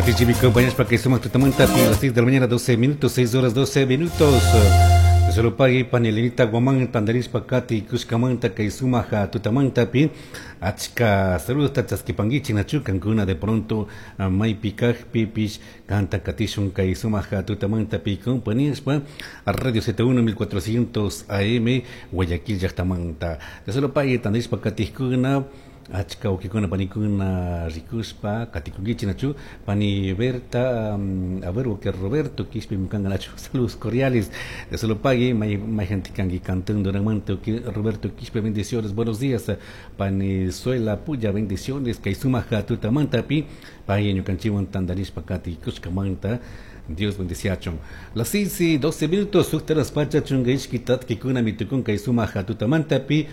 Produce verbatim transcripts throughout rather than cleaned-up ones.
Katichibi compañeros para que sumak tutamanta a las seis de la mañana, doce minutos, seis horas doce minutos. Solo pagui panelinita guamán tandarispa kati kushkamanta kay sumaja tutamantapi achka saludos chaskipanguichi nachu kankuna de pronto maypi kajpipish kanta katishun kay sumaja tutamantapi compañeros Radio Z uno mil cuatrocientos A M Guayaquil llaqtamanta. De solo pagui tandarispa katijkuna achka wawkikuna panikuna rikushpa katikunkichik nachu pani Berta um, a ver que Roberto Quispe nachu, saludos cordiales de solo pague may may gente kanki cantando Duranmanto Roberto Quispe, bendiciones, buenos días. Pani Suela Puya, bendiciones kay sumaja tutamantapi pay ñukanchikwan tandarishpa kati kushkamanta. Dios bendiciachun. Las seis y doce minutos, suqta pacha chunka ishki tatkikuna mitukun kay sumaja tutamantapi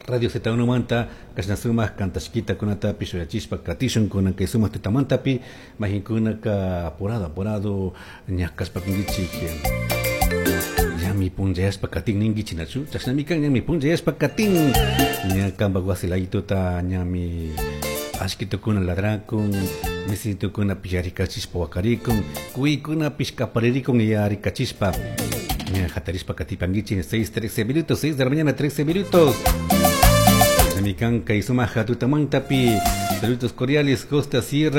Radio Z uno manta kashna sumak kantashkita kunatapi shuyachishpa katishun kunan kay sumak tutamantapi mahinkunaka apurado apurado ñakashpa kunkichik ñami punchayashpa katin ninkichik nachu chashnami kan ñami punchayashpa katin ña kampak wasi laditota ñami ashkitukuna ladrakun misitukuna yarikachishpa wakarikun kuykunapish kaparirikun yarikachishpa ña hatarishpa katipankichik. seis trece minutos, seis de la mañana trece minutos. Mikan kay sumaja tutamantapi saludos cordiales Costa Sierra.